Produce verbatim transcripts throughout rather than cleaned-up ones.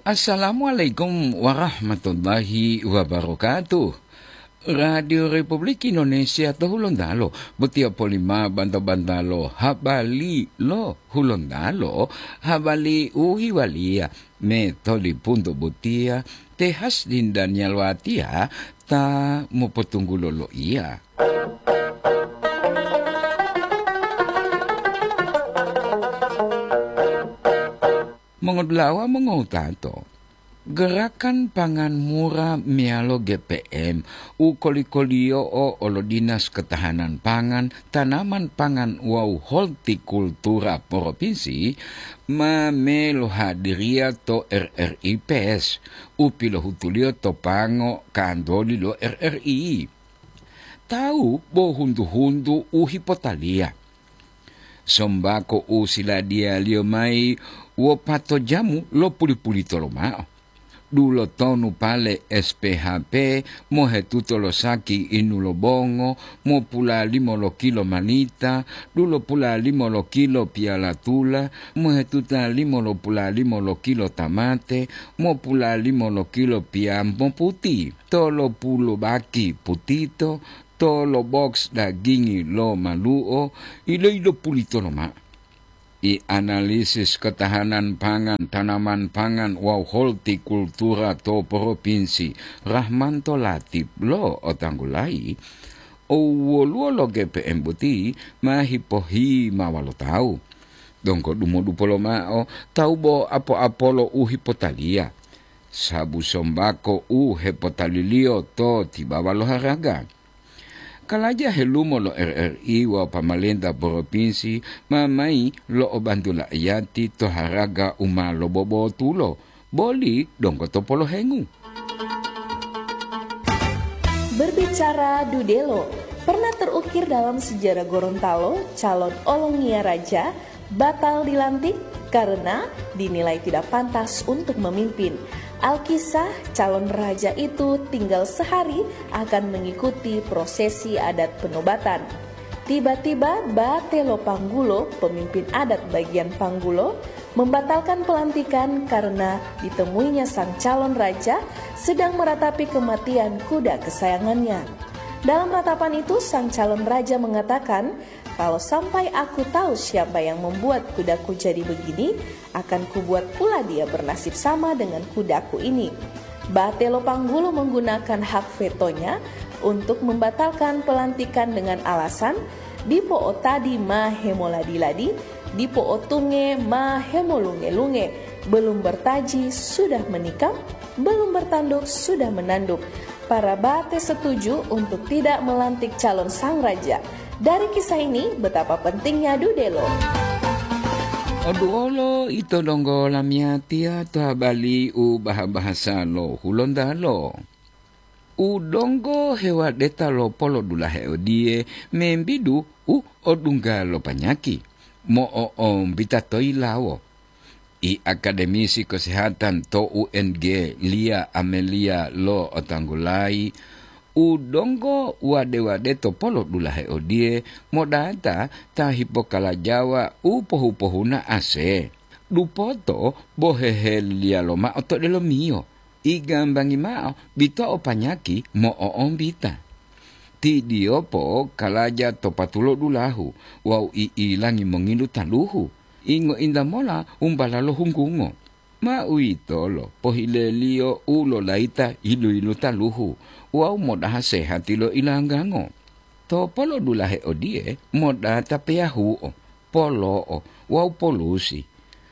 Assalamualaikum warahmatullahi wabarakatuh. Radio Republik Indonesia to Hulontalo, botiya polima banta-bantalo habali lo Hulontalo, habali u hiwaliya me tolipunto botiya, te Hasdin Daniel Watiya ta mopotunggulo loiya. Mongodulawa mongowutato, gerakan pangan mura meyalo G P M u koli-koliyo'o olo Dinas Ketahanan Pangan, Tanaman Pangan wawu Holtikultura Propinsi ma melohadiriya to R R I Pes u pilohutuliyo to pango kantoli lo R R I. Tawu bo huntu-huntu u hipotaliya. Sombako u siladiyaliyo mayi wopato jamu lo puli-pulito lomao. Dulotonu pale S P H P mohetuto lo saki inu lo bongo, mopulalimo lo kilo malita, dulopulalimo lo kilo piyala tula, mohetutalimo lo pulalimo lo kilo tamate, mopulalimo lo kilo piyambo puti, tolopulu baki putito, tolo boks dagingi lo malu'o, ilo-ilo pulito lomao. I analisis ketahanan pangan, tanaman pangan wawu holtikultura to Propinsi Rahmanto Latip lo otanggulayi, owoluwo lo G P M boti ma hipohimawa lo tawu. Donggo dumodupo lomao tawu bo apo-apolo u hipotaliya, sabu sombako u hepotaliliyo to tibawa lo haraga. Kalaja helumo lo R R I wawu pamalenta propinsi ma mayi lo'obantu la'iyati to haraga u ma lobobotulo, boli donggo to polohengu. Berbicara dudelo, pernah terukir dalam sejarah Gorontalo, calon olongiya raja batal dilantik karena dinilai tidak pantas untuk memimpin. Alkisah, calon raja itu tinggal sehari akan mengikuti prosesi adat penobatan. Tiba-tiba Bate Lopanggulo, pemimpin adat bagian Panggulo, membatalkan pelantikan karena ditemuinya sang calon raja sedang meratapi kematian kuda kesayangannya. Dalam ratapan itu, sang calon raja mengatakan, "Kalau sampai aku tahu siapa yang membuat kudaku jadi begini, akan kubuat pula dia bernasib sama dengan kudaku ini." Batelo Panggulo menggunakan hak vetonya untuk membatalkan pelantikan dengan alasan, "Dipo o tadi ma hemoladi-ladi, dipo o tunge ma hemolunge-lunge, belum bertaji sudah menikam, belum bertanduk sudah menanduk." Para Bate setuju untuk tidak melantik calon sang raja. Dari kisah ini, betapa pentingnya dudelo. Oduolo ito donggo lamiyatiya to habali u baha-bahasa lo Hulontalo. U donggo hewadeta lo polodulahe odiye membidu u odungga lo panyaki, mo'o'ombita to yilawo. I akademisi kesehatan to U N G, Lia Amelia lo otanggulayi, u donggo wade-wade to polodulahe odiye modata ta hipokalajawa u pohu-pohuna ase. Dupoto bo heheliyalo mao to delomiyo, igambangi mao bito'o panyaki mo'o'ombita. Ti Diopo kalaja to patulo dulahu wawu i'ilangi mongilu taluhu, ingo-inta mola umbala lo hunggungo. Ma uwitolo pohileliyo u lolayita yilu-yilu taluhu wawu modaha sehati lo ilanggango. To polodulahe odiye modata peyahuo, polo'o wawu polusi.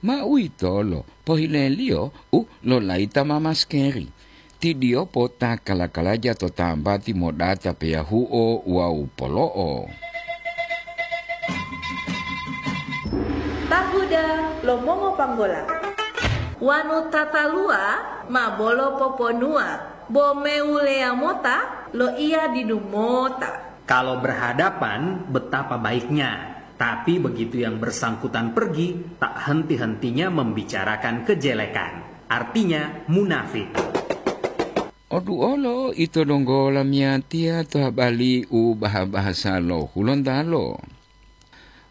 Ma uwitolo pohileliyo u lolayita ma maskeri. Ti Diopo ta kala-kalaja to tambati modata peyahuo wawu polo'o. Tahuda lo mongopanggola. Wanu tataluwa ma bolo poponuwa, bo mewuleya mota loiya didu mota. Kalau berhadapan, betapa baiknya. Tapi begitu yang bersangkutan pergi, tak henti-hentinya membicarakan kejelekan. Artinya, munafik. Oduolo ito donggo lamiyatiya to habali u baha-bahasa lo Hulontalo.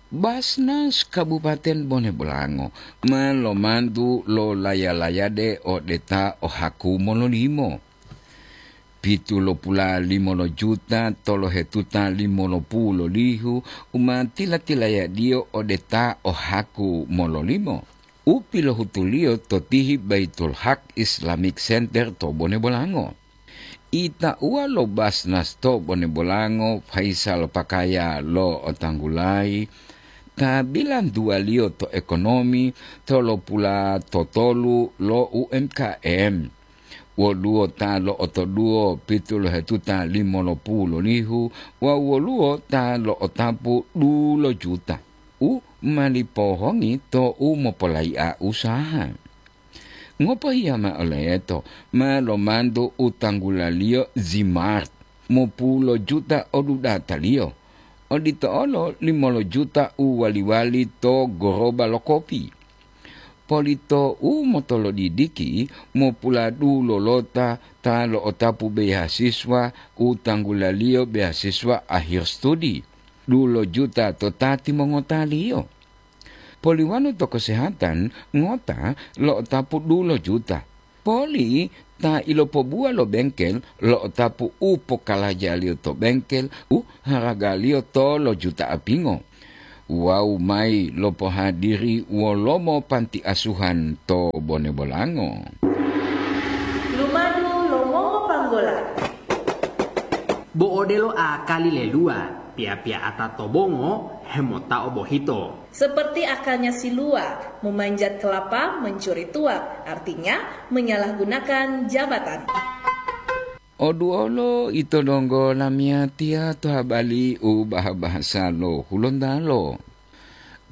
Basnas Kabupaten Bone Bolango ma lomantu lo laya-layade ode ta o haku mololimo. Pitulopula limo lo juta tolohetuta limo lo pulu lo lihu u ma tila-tilayadiyo ode ta o haku mololimo, u pilohutuliyo to tihi Baitul Haq Islamic Center to Bone Bolango. Itauwa lo Basnas to Bone Bolango, Faisal Pakaya lo Otanggulayi, ta bilantuwaliyo to ekonomi tolopula totolu lo U M K M. Woluwo ta lo'otoduwo pitolohetuta limo lo pulu lo lihu wawu woluwo ta lo'otapu dulo juta u ma lipohongi to u mopolayi'a usaha. Ngopohiya ma'o leto ma lomantu u tanggulaliyo Zimart, mopulo juta odudataliyo, odito olo limolo juta u wali-wali to goroba lo kopi. Polito u motolodidiki mopuladulolota ta lo'otapu beasiswa u tanggulaliyo beasiswa akhir studi, dulo juta to ta timongotaliyo. Poliwanu to kesehatan ngota lo'otapu dulo juta. Poli ta ilopobuwa lo bengkel lo'otapu u pokalajaliyo to bengkel u haragaliyo tolo juta apingo. Wawu mayi lopohadiri wolomo panti asuhan to Bone Bolango. Lumadu lo mongopanggola. Bo odelo akali leluwa, piya-piya'ata to bongo hemotao bohito. Seperti akalnya si Lua, memanjat kelapa, mencuri tuak, artinya menyalahgunakan jabatan. Oduolo ito donggo lamiyatiya to habali u baha-bahasa lo Hulontalo.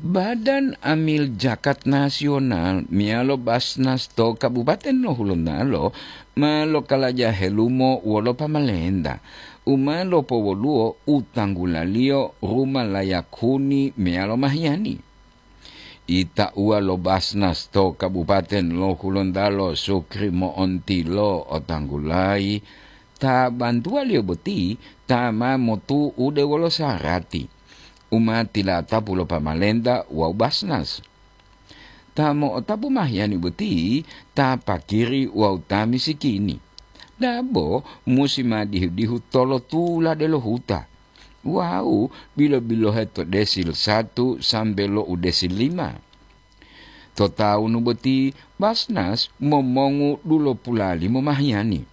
Badan Amil Jakat Nasional meyalo Basnas to Kabupaten lo Hulontalo ma lokalaja helumo wolo pamalenta u ma lopowoluwo u tanggulaliyo ruma layak huni meyalo mahiyani. Itauwa lo Basnas to Kabupaten lo Hulontalo Sukri Mo'onti lo otanggulayi, ta bantuwaliyo boti ta ma motu'ude wolo sarati u ma tilatapu lo pamalenta wawu Basnas. Ta mo'otapu mahiyani boti ta pakiri wawu ta misikini. Dabo musi ma dihu-dihu tolotula delo huta. Wawu bilo-bilohe to desil satu sambe lo u desil lima. To tawunu boti Basnas momongu dulopula limo mahiyani.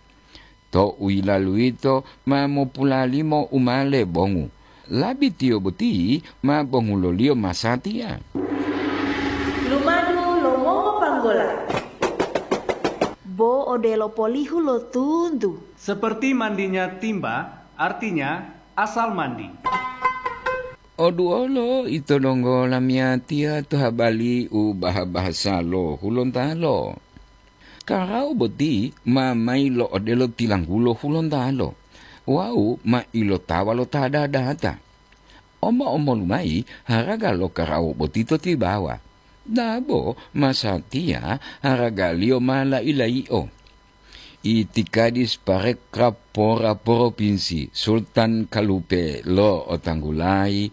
To u yilalu yito ma mopulalimo u ma lebongu. Labitiyo boti ma bonguloliyo masatiya. Lumadu lo mongopanggola. Bo odelo polihu lo tuntu. Seperti mandinya timba, artinya asal mandi. Oduolo ito donggo lamiyatiya to habali u baha-bahasa lo Hulontalo. Karawu boti ma mayi lo odelo tilanggulo Hulontalo wawu ma ilotawa lo ta dadata. Omo-omolu mayi haraga lo karawu boti to tibawa. Dabo masatiya haragaliyo ma lai-layi'o. Itikadis parekrab pora poropinsi Sultan Kalupe lo otanggulayi,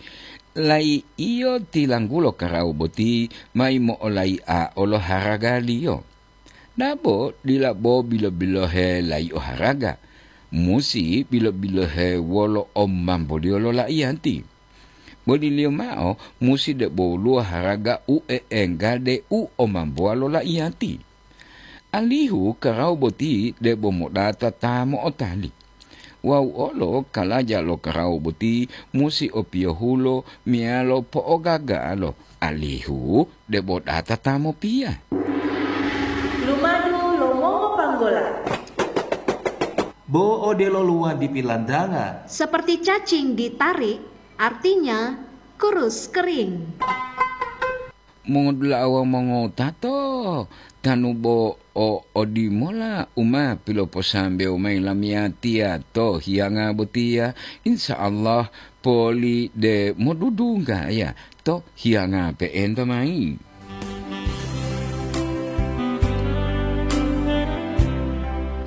lai'iyo tilanggulo karawu boti mayi mo'olai'a olo haragaliyo. Dabo dila bo bilo-bilohe lai'o haraga, musi bilo-bilohe wolo omamboliyo lo laiyati. Boliliyo mao musi debo woluwo haraga u e'enggade u omambowa lo laiyati. Alihu karawu boti debo modata ta mo'otali. Wawu olo kalaja lo karawu boti musi opiyohulo meyalo po'ogagalo, alihu debo data ta mopiya. Lumadu lo mongopanggola. Bo odelo luwadi pilantanga. Seperti cacing ditarik, artinya kurus kering. Mongodula'a wawu mongotato, tanu bo o odimola u ma piloposambewo mayi lamiyatiya to hiyanga botiya, insya Allah poli de modudunggaya to hiyanga pe'enta mayi.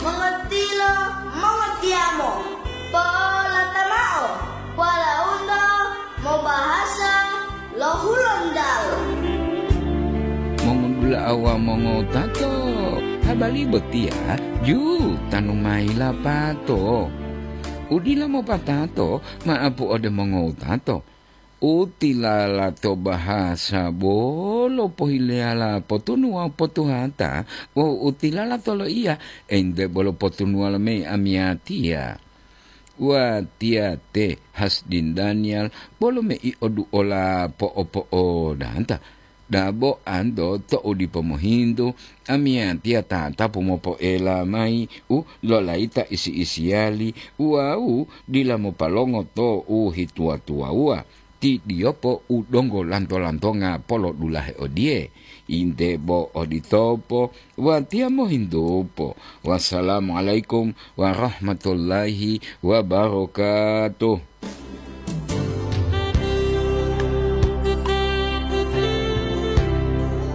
Mongotilo, mongotiyamo, po'olata mao, walaundo mobahasa lo Awa mongowutato, habari botiya ju tanu mayi lapato. Udila mopatato, maapu ode mongowutato. Utilala to bahasa bolo pohileyala potunu wawu potuhata, wawu utilala to loiya ente bolo potunuwa lo mei amiyatiya. Watiya te Hasdin Daniel bolo mei oduola po'opo'odanta. Dabo anto to'u dipo mohintu, amiyatiya tatapu mopoela mayi u lolayita isi-isiyali wawu dila mopalongo to u hituwa-tuwawuwa. Ti diyopo u donggo lanto-lantonga polodulahe odiye, inte bo oditopo, watiya mohintupo. Wassalamualaikum warahmatullahi wabarakatuh.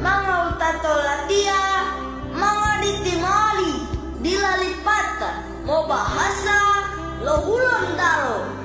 Mangawutato latiya, mangaditi moli, dila lipata, mobahasa